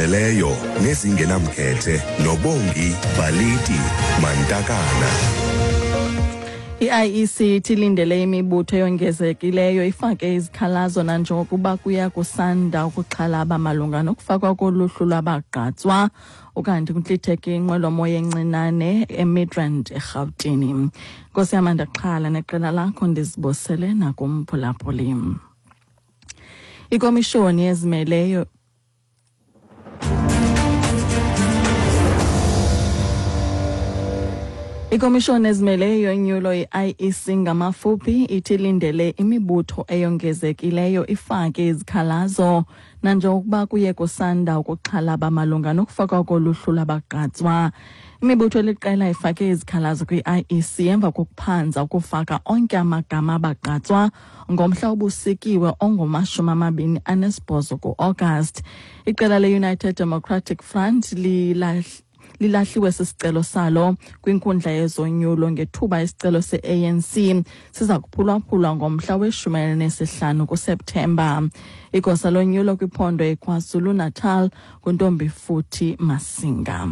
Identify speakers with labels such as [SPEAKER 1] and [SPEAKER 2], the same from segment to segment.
[SPEAKER 1] Ezigqibeleleyo nezingenamkhethe noBongi Baliti Mantakana.
[SPEAKER 2] I-IEC ithi ilindele imibutho eyongezekileyo ifake izikhalazo nanjengokuba kuya kusanda ukuxhalaba malunga nokufakwa koluhlu lwabagqatswa. Ukanti kuntlitheke inqwelomoya encinane eMidrand, eRhawutini. Nkosi yam, andaxhala neqela lakho, ndizibosele nakumphulaphuli. Ikomishoni ezimeleyo Ikomishoni ezimeleyo yonyulo, i-IEC ngamafuphi, ithi ilindele imibutho eyongezekileyo ifake izikhalazo nanjengokuba kuye kusanda ukuxhalaba malunga nokufakwa koluhlu lwabagqatswa. Imibutho eliqela ifake izikhalazo kwi-IEC emva kokuphanza ukufaka onke amagama abagqatswa ngomhla obusikiwe ongu-28 ku-August. Iqela le-United Democratic Front lilahliwe sisicelo salo kwinkundla yezonyulo, ngethuba isicelo se-ANC siza kuphulwaphulwa ngomhla we-15 kuSeptemba. Igosa lonyulo kwiphondo iKwaZulu-Natal nguNtombifuthi Masinga.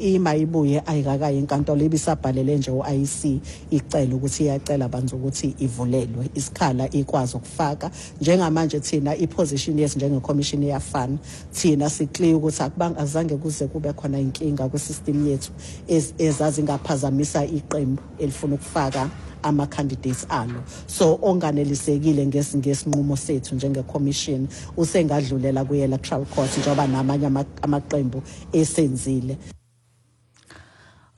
[SPEAKER 3] Ima ibuye ayikakayi enkantolo, ibisabhalele nje u-IEC icela ukuthi iyacela banzi ukuthi ivulelwe isikhala ikwazi ukufaka. Njengamanje thina i-position yethu njenge-commission iyafana. Thina si-clear ukuthi akubanga azange kuze kube khona inkinga kwi-system yethu ezazingaphazamisa iqembu elifuna ukufaka ama-candidates alo. So onganelisekile ngesinqumo sethu njenge-commission usengadlulela kwi-electoral court, njengoba namanye amaqembu esenzile.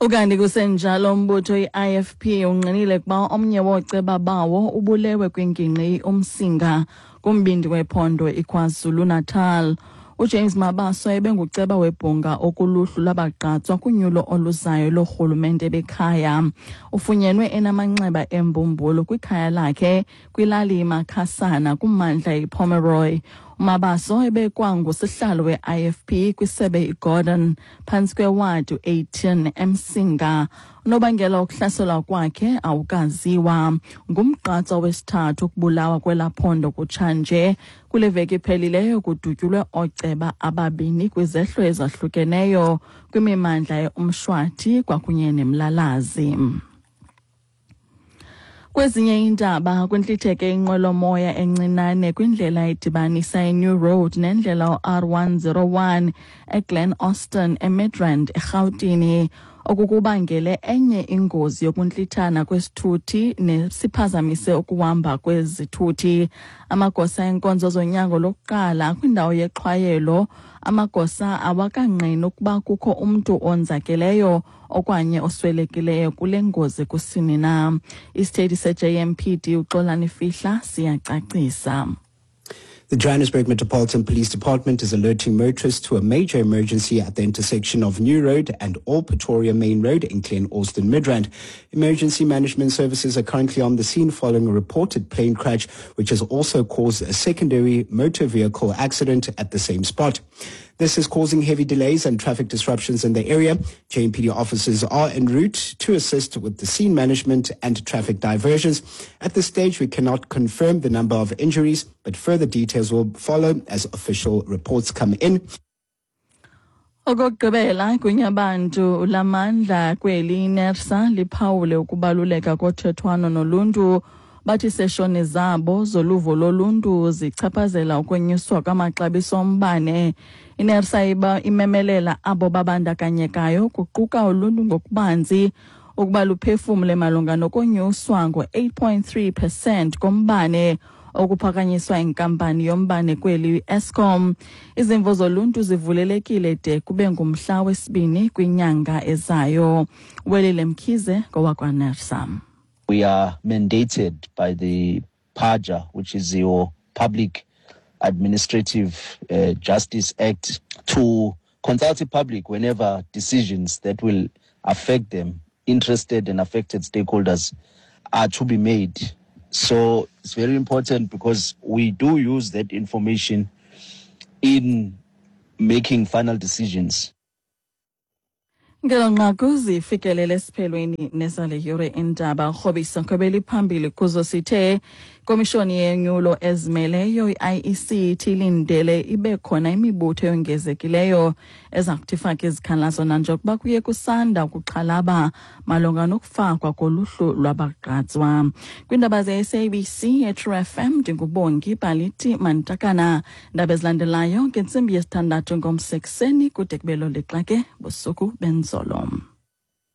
[SPEAKER 2] Ukanti kusenjalo, umbutho i-IFP ungqinile ukuba omnye wooceba bawo ubulewe kwingingqi uMsinga kumbindi wephondo iKwaZulu-Natal. UJames Mabaso ebenguceba webhunga okuluhlu lwabagqatswa kunyulo oluzayo lorhulumente bekhaya. Ufunyenwe enamanxeba embumbulu kwikhaya lakhe kwilali iMakhasana kummandla iPomeroy. UMabaso ebekwangusihlalo we-IFP kwisebe iGordon phantsi kwewadi 18 eMsinga. Unobangela wokuhlaselwa kwakhe awukaziwa. Ngumgqatswa wesithathu ukubulawa kwelaa phondo kutshanje. Kule veki iphelileyo kudutyulwe ooceba ababini kwizehlo ezahlukeneyo kwimimandla yeUmshwathi kwakunye neMlalazi. Kwezinye iindaba, kuntlitheke inqwelomoya encinane kwindlela edibanisa iNew Road nendlela u-R101 eGlen Austin, eMidrand, eRhawutini. Oku kubangele enye ingozi yokuntlithana kwesithuthi nesiphazamise ukuhamba kwezithuthi. Amagosa enkonzo zonyango lokuqala kwindawo yexhwayelo. Amagosa awakangqini ukuba kukho umntu onzakeleyo okanye oswelekileyo kule ngozi kusini na. Isithethi se-JMPD uXolani Fihla siyacacisa.
[SPEAKER 4] The Johannesburg Metropolitan Police Department is alerting motorists to a major emergency at the intersection of New Road and Old Pretoria Main Road in Glen Austin, Midrand. Emergency management services are currently on the scene following a reported plane crash, which has also caused a secondary motor vehicle accident at the same spot. This is causing heavy delays and traffic disruptions in the area. JMPD officers are en route to assist with the scene management and traffic diversions. At this stage, we cannot confirm the number of injuries, but further details will follow as official reports come in.
[SPEAKER 2] Okokugqibela, Gunyabantu lamandla kweli iNERSA liphawule ukubaluleka kothethwano noluntu. Bathi seshoni zabo zoluvo loluntu zichaphazela ukwenyuswa kwamaxabiso ombane. INERSA iba imemelela abo babandakanyekayo, kuquka uluntu ngokubanzi, ukuba luphefumle malunga nokonyuswa ngo-8.3% kombane okuphakanyiswa inkampani yombane kweli i-Eskom. Izimvo zoluntu zivulelekile de kube ngumhla wesibini kwinyanga ezayo. Welile Mkhize ngowakwaNERSA.
[SPEAKER 5] We are mandated by the PAJA, which is your Public Administrative Justice Act, to consult the public whenever decisions that will affect them, interested and affected stakeholders, are to be made. So it's very important because we do use that information in making final decisions.
[SPEAKER 2] Ngelo nqaku zifikelele esiphelweni nezale yure indaba. Rhobisa khwebeli phambili kuzo sithe Komishoni yenyulo ezimeleyo i-IEC ithi ilindele ibe khona imibutho eyongezekileyo eza kuthi ifake izikhalazo nanjengokuba kuye kusanda ukuxhalaba malunga nokufakwa koluhlu lwabagqatswa. Kwiindaba ze-SABC eTrue FM, ndinguBongi Baliti Mantakana. Ndaba ezilandelayo ngentsimbi yesithandathu ngomsekuseni kude kube loo lixa ke busuku benzolo.